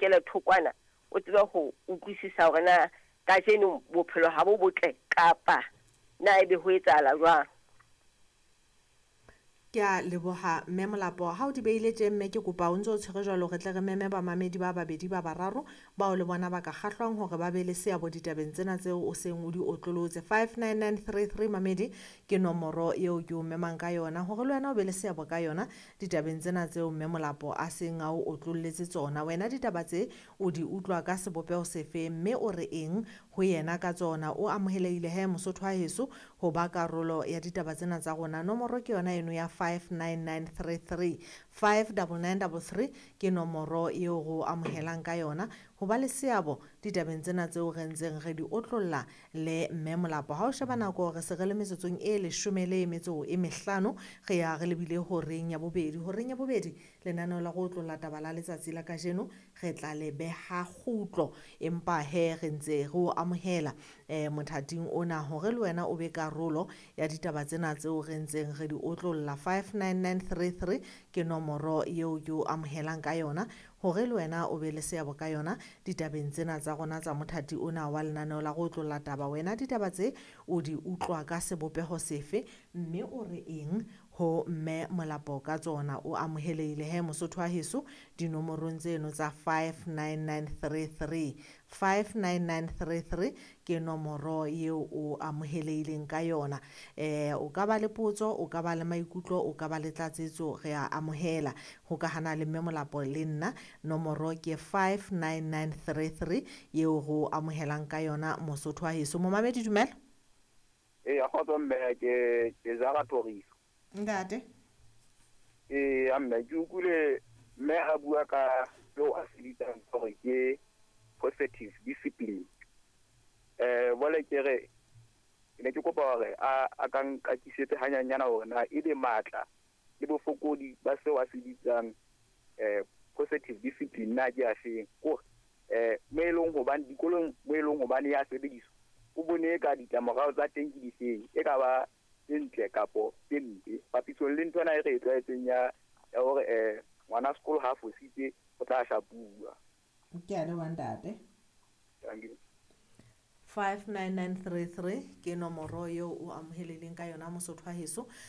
Kele thokwana o tsebe ho utlwisisa hore na kajeno bophelo ha bo botle kapa na ebe ho etsahala jwang. Ke a leboha Mme Molapo. Ha o di beile tje mme, ke kopa o ntse o tshwere jwalo, re tle re meme bamamedi ba babedi, ba bararo bao le bona ba ka kgahlwang hore ba be le seabo ditabeng tsena tseo o seng o di otlolotse. 59933, mamedi, ke nomoro eo ke o memang ka yona hore le wena o be le seabo ka yona ditabeng tsena tseo Mme Molapo a seng a o otlolletse tsona. Wena ditaba tse o di utlwa ka sebopeho sefe, mme o re eng ho yena ka tsona? O amohelehile he, Mosotho wa heso, ho ba karolo ya ditaba tsena tsa rona. Nomoro ke yona eno ya 59933. 59933 ke nomoro eo re o amohelang ka yona ho ba le seabo ditabeng tsena tseo re ntseng re di otlolla le Mme Molapo. Ha o sheba nako, re se re le metsotsong e 15, re ya re lebile horeng ya bobedi. Horeng ya bobedi, lenaneo la go otlolla taba la letsatsi la kajeno re tla le beha kgutlo, empa he re ntse re o amohela mothating ona hore le wena o be karolo ya ditaba tsena tseo re ntseng re di otlolla. 59933 ke nomoro eo ke o amohelang ka yona hore le wena o be le seabo ka yona ditabeng tsena tsa rona tsa mothati ona wa lenaneo la go otlolla taba. Wena ditaba tse o di utlwa ka sebopeho sefe, mme o re eng ho Mme Molapo ka tsona? O amohelehile he, Mosotho wa heso, dinomorong tseno tsa 59933. 59933 ke nomoro eo o amohelehileng ka yona. O ka ba le potso, o ka ba le maikutlo, o ka ba le tlatsetso, re a amohela ho ka hana le Mme Molapo le nna. Nomoro ke 59933 eo re o amohelang ka yona, Mosotho wa heso. Momamedi, dumela. Ee, kgotso mme, ke Jara Thoriso. Ntate. Ee mme, ke utlwile mme a bua ka seo a se bitsang hore ke positive discipline. Bole ke re ke ne ke kopa hore a ka nkakisetse hanyanyana hore na ebe matla le bofokodi ba seo a se bitsang positive discipline na ke afeng, kore mo e leng hobane dikolong, mo e leng hobane ya sebediswa, o bone ka ditlamorao tsa teng ke difeng, e ka ba tse ntle kapo tse mpe papisong le nthwena e re e tlwaetseng ya hore ngwana sekolo ha fositse o tla shapuwa. Ke a leboha, ntate. Thank you. 59933 ke nomoro eo o amohelehileng ka yona, Mosotho wa heso.